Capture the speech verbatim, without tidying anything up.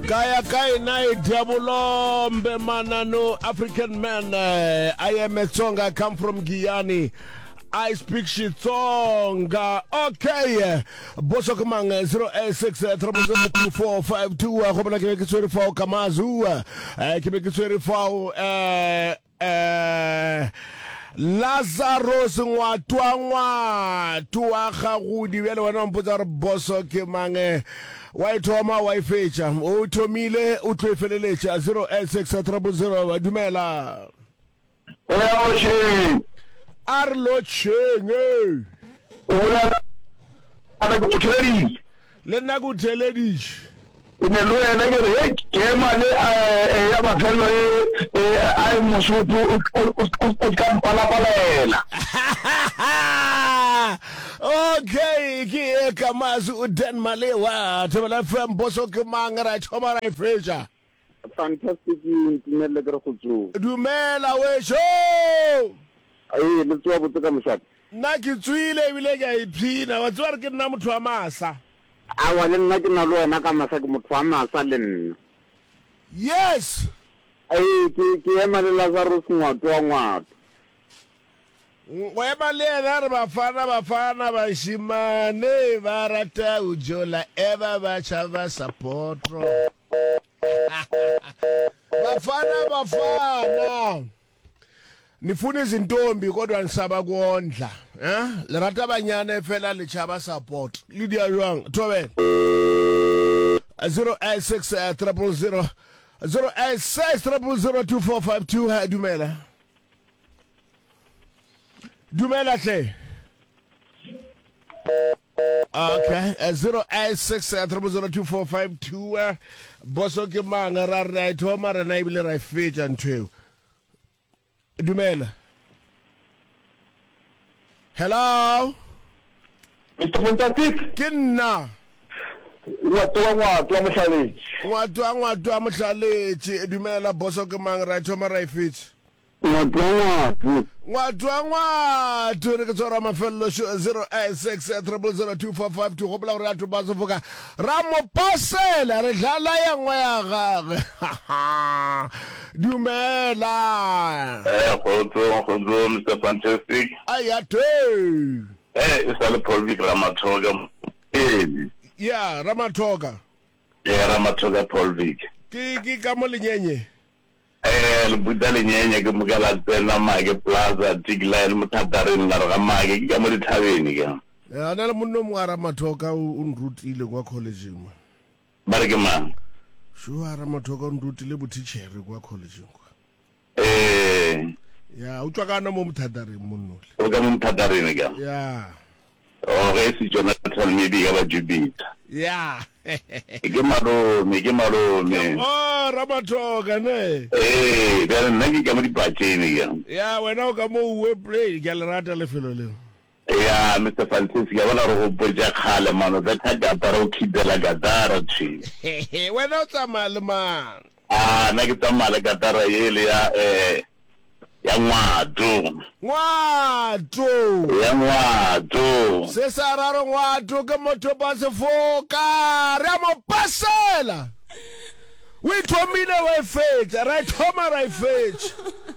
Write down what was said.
Kaya kae nae diabolombe manano African man eh, I am a Tsonga I come from Giyani I speak Xitsonga okay boso ke mang zero eight six triple zero two four five two go bona ke be ke tshwere fao Kamazu eh, ke be ke tshwere fao eh eh Lazarus Ngwatwa Ngwato wa Gagodi bjale wena wa mpotsa gore boso ke mang eh, wa e thoma wa e fetša o thomile o tlo e feleletša zero eight six triple zero dumela Eya lotšheng. A re lotšheng ee. O bolela ke go theleditše. Le nna ke o theleditše. Ke ne le wena ke re hei ke ema le ya mafelelo e a e Mosotho o ka mpalapalela. Okay ke e ka mazu o Dan Malewa Thobela F M boso ke mang ra e thoma ra e fetša. Fantastic ntumelele ke re go tsoga. Dumela wešo. Ee, le tsoga botse ka mošate? Nna ke tswile ebile ke a ipshina. Wa tseba gore ke nna motho wa masa. Aowa le nna ke na le wena ka masa, ke motho wa masa le nna. Yes. Ee, ke, ke ema le Lazarus Ngwato wa Ngwato. Go ema le yena re bafana bafana bašemane ba rata go jola eba ba tšhaba sapotro. Bafana bafana nifuna izintombi kodwa nisaba kondla eh le rata banyana fela le tšhaba support le dia jwang thobela zero eight six triple zero zero eight six triple zero two four five two dumela Dumela hle. Okay, eh, zero eight six eh, triple zero two four five two. eh, Boso ke mang ra re ra e thoma rena ebile ra e fetša ntho eo. Dumela. Hello. Mister Fantastic. Ke nna. Ngwato wa Ngwato wa Mohlaletši. Ngwato wa Ngwato wa Mohlaletši. Dumela boso ke mang ra e thoma ra e fetša. Ngwato wa Ngwato. Ngwato wa Ngwato re ke tshwara mafelelo šo zero eight six triple zero two four five two gopola gore ya thopa sefoka ra mo pasela re dlala ya nngwe ya gagwe dumela. Eh kgotso kgotso Mister Fantastic. Aya te. Eh e sa le Paul Vic Ramathoka. Ee. Ya Ramathoka. Eh Ramathoka Paul Vic. Ke ke ka mo lenyenye. Eh, le buta lenyenye ke moka la tsena Make Plaza, Tick Line, Mothatareng, la re ga Make, ke ka mo dithabeng ke. Ya, na le monna o mongwe a Ramathoka o o nrutile kwa collegeng mo. Ba re ke mang? Šo a Ramathoka o nrutile bothitšhere kwa collegeng kwa. Eh. Ya, o tšwa ka na mo Mothatareng monnole. O ka mo Mothatareng ke? Ya. Oh, ge e se Jonathan maybe e ka ba Jupiter. Ya. Ke malome, ke malome. Oh, Ramathoka ne. Ee, bjale nna ke ka mo dipatšene ke. Ya, wena o ka mo uwe play, ke a le rata lefelo leo. Ya, Mister Fantastic, ke a bona re gopotša kgale mano, betha katara o khitela katara thwi. Wena o tsamaya le mang? A, nna ke tsamaya le katara yele ya eh ya Ngwato. Ngwato. Ya Ngwato. Se sa ra re Ngwato ke motho ba sefoka, re a mo pasela. O e thomile wa e fetša, ra e thoma ra e fetša.